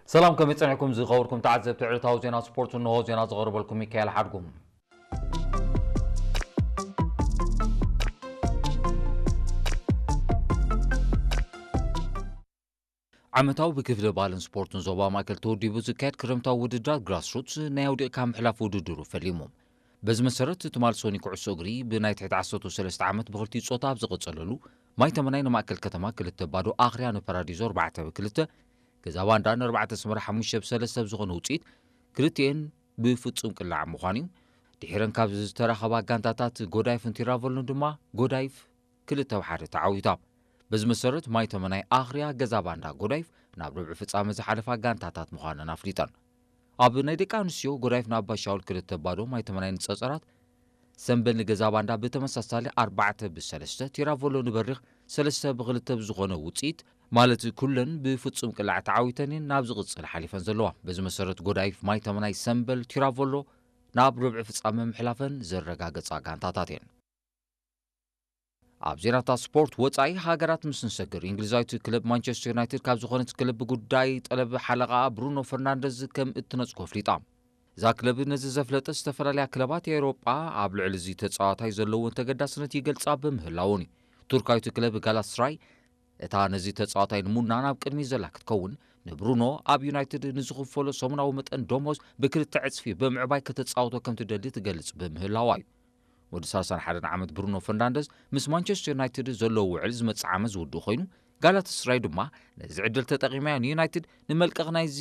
ሰላም፣ ከመይ ጸኒሕኩም ዝኸበርኩም ተዓዘብቲ ዕለታዊ ዜና ስፖርት? እንሆ ዜና ዘቕርበልኩም ሚካኤል ሓድጉም። ዓመታዊ ብክፍሊ ባህልን ስፖርትን ዞባ ማእከል ተወዲቡ ዝካየድ ክረምታዊ ውድድራት ግራስሩትስ ናይ ኣውዲቕካ ምሕላፍ ውድድሩ ፈሊሙ። በዚ መሰረት፣ ትማል ሶኒ ኩዕሶ እግሪ ብናይ ትሕቲ ዓሰርተ ሰለስተ ዓመት ብኽልቲኡ ጾታ ኣብ ዝቐጸለሉ፣ ማይ ተመናይ ንማእከል ከተማ ክልተ ባዶ፣ ኣኽርያ ንፓራዲዞ ኣርባዕተ ብ ክልተ፣ ገዛ ባንዳ ንኣርባዕተ ኣስመራ ሓሙሽተ ብ ሰለስተ ብዝኾነ ውጽኢት፣ ክልቲኤን ብፍጹም ቅላዕ ምዃኑ እዩ። ድሒረን ካብ ዝተራኸባ ጋንታታት ጎዳይፍን ቲራቮሎን ድማ ጎዳይፍ ክልተ ብ ሓደ ተዓዊታ። በዚ መሰረት፣ ማይ ተመናይ ኣኽርያ፣ ገዛ ባንዳ ጎዳይፍ ናብ ርብዒ ፍጻመ ዝሓለፋ ጋንታታት ምዃነን ኣፍሊጠን። ኣብ ናይ ደቂ ኣንስትዮ፣ ጎዳይፍ ንኣባሻውል ክልተ ባዶ፣ ማይ ተመናይ ንጸጸራት፣ ሰምበል ንገዛ ባንዳ ብተመሳሳሊ ኣርባዕተ ብ ሰለስተ፣ ቲራቮሎ ንበሪኽ ሰለስተ ብ ክልተ ብዝኾነ ውጽኢት፣ ማለት ኩለን ብፍጹም ቅላዕ ተዓዊተን እየን ናብ ዝቕጽል ሓሊፈን ዘለዋ። በዚ መሰረት፣ ጎዳይፍ፣ ማይ ተመናይ፣ ሰምበል፣ ቲራቮሎ ናብ ርብዒ ፍጻመ ምሕላፈን ዘረጋገጻ ጋንታታት እየን። ኣብ ዜናታት ስፖርት ወጻኢ ሃገራት ምስ ንሰግር፣ እንግሊዛዊት ክለብ ማንቸስተር ዩናይትድ ካብ ዝኾነት ክለብ ብጉዳይ ጠለብ ሓለቓኣ ብሩኖ ፈርናንደዝ ከም እትነጽጎ ኣፍሊጣ። እዛ ክለብ ነዚ ዘፍለጠ፣ ዝተፈላለያ ክለባት ኤውሮጳ ኣብ ልዕሊ እዚ ተጻዋታይ ዘለወን ተገዳስነት ይገልጻ ብምህላወን እዩ። ቱርካዊት ክለብ ጋላታስራይ እታ ነዚ ተጻዋታይ ንምውናን ኣብ ቅድሚት ዘላ ክትከውን፣ ንብሩኖ ኣብ ዩናይትድ ንዝኽፈሎ ሰሙናዊ መጠን ደሞዝ ብክልተ ዕጽፊ ብምዕባይ ከተጻውቶ ከም ትደሊ ትገልጽ ብምህላዋ እዩ። ወዲ ሰላሳን ሓደን ዓመት ብሩኖ ፈርናንደዝ ምስ ማንቸስተር ዩናይትድ ዘለዎ ውዕል ዝመጽእ ዓመት ዝውድእ ኮይኑ፣ ጋላታስራይ ድማ ነዚ ዕድል ተጠቒማ እያ ንዩናይትድ ንመልቀቕ ናይዚ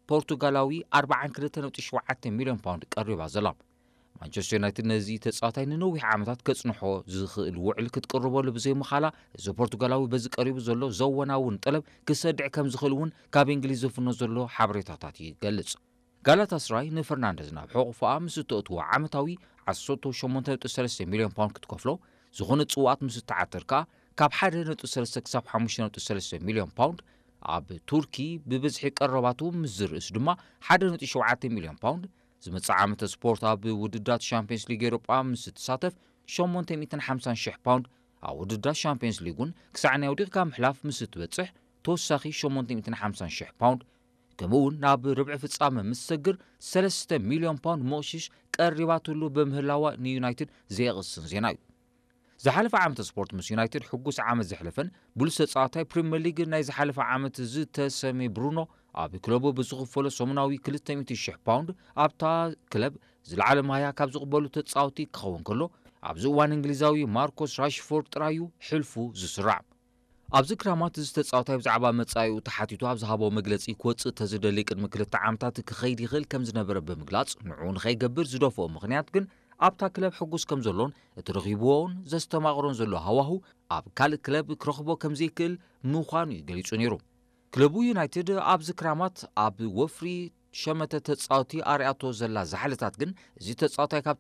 ፖርቱጋላዊ ኣርብዓን ክልተ ነጥቢ ሸውዓተ ሚልዮን ፓውንድ ቀሪባ ዘላ። ማንቸስተር ዩናይትድ ነዚ ተጻዋታይ ንነዊሕ ዓመታት ከጽንሖ ዝኽእል ውዕል ክትቅርበሉ ብዘይምኻላ፣ እዚ ፖርቱጋላዊ በዚ ቀሪቡ ዘሎ ዘወናውን ጠለብ ክሰድዕ ከም ዝኽእል እውን ካብ እንግሊዝ ዝፍኖ ዘሎ ሓበሬታታት ይገልጽ። ጋላታስራይ ንፈርናንደዝ ናብ ሕቑፎኣ ምስ እተእትዎ ዓመታዊ ዓሰርተ ሸሞንተ ነጥቢ ሰለስተ ሚልዮን ፓውንድ ክትከፍሎ፣ ዝኾነ ጽዋኣት ምስ እትዓትር ከኣ ካብ ሓደ ነጥቢ ሰለስተ ክሳብ ሓሙሽተ ነጥቢ ሰለስተ ሚልዮን ፓውንድ፣ ኣብ ቱርኪ ብብዝሒ ቀረባቱ ምስ ዝርእስ ድማ ሓደ ነጥቢ ሸውዓተ ሚልዮን ፓውንድ፣ ዝመጽእ ዓመተ ስፖርት ኣብ ውድድራት ሻምፒዮንስ ሊግ ኤውሮጳ ምስ እትሳተፍ ሸሞንተ ሚእትን ሓምሳን ሽሕ ፓውንድ፣ ኣብ ውድድራት ሻምፒዮንስ ሊግ እውን ክሳዕ ናይ ኣውዲቕካ ምሕላፍ ምስ እትበጽሕ ተወሳኺ ሸሞንተ ሚእትን ሓምሳን ሽሕ ፓውንድ፣ ከምኡ እውን ናብ ርብዒ ፍጻመ ምስ ትሰግር ሰለስተ ሚልዮን ፓውንድ መቕሽሽ ቀሪባትሉ ብምህላዋ ንዩናይትድ ዘየቕስን ዜና እዩ። ዝሓለፈ ዓመተ ስፖርት ምስ ዩናይትድ ሕጉስ ዓመት ዘሕለፈን ብሉጽ ተጻዋታይ ፕሪምየር ሊግ ናይ ዝሓለፈ ዓመት ዝተሰምየ ብሩኖ፣ ኣብ ክለቡ ብዝኽፈሎ ሰሙናዊ ክልተ ሚእቲ ሽሕ ፓውንድ ኣብታ ክለብ ዝለዓለ ማህያ ካብ ዝቕበሉ ተጻወቲ ክኸውን ከሎ፣ ኣብዚ እዋን እንግሊዛዊ ማርኮስ ራሽፎርድ ጥራይ እዩ ሕልፉ ዝስራዕ። ኣብዚ ክራማት እዚ ተጻዋታይ ብዛዕባ መጻኢኡ ተሓቲቱ ኣብ ዝሃቦ መግለጺ፣ ክወጽእ ተዝደሊ ቅድሚ ክልተ ዓመታት ክኸይድ ይኽእል ከም ዝነበረ ብምግላጽ፣ ንዕኡ ንኸይገብር ዝደፍኦ ምኽንያት ግን ኣብታ ክለብ ሕጉስ ከም ዘሎን እቲ ረኺብዎን ዘስተማቕሮን ዘሎ ሃዋሁ ኣብ ካልእ ክለብ ክረኽቦ ከም ዘይክእል ምዃኑ እዩ ገሊጹ ነይሩ። ክለቡ ዩናይትድ ኣብዚ ክራማት ኣብ ወፍሪ ሸመተ ተጻወቲ ኣርያቶ ዘላ ዛሕልታት ግን፣ እዚ ተጻዋታይ ካብ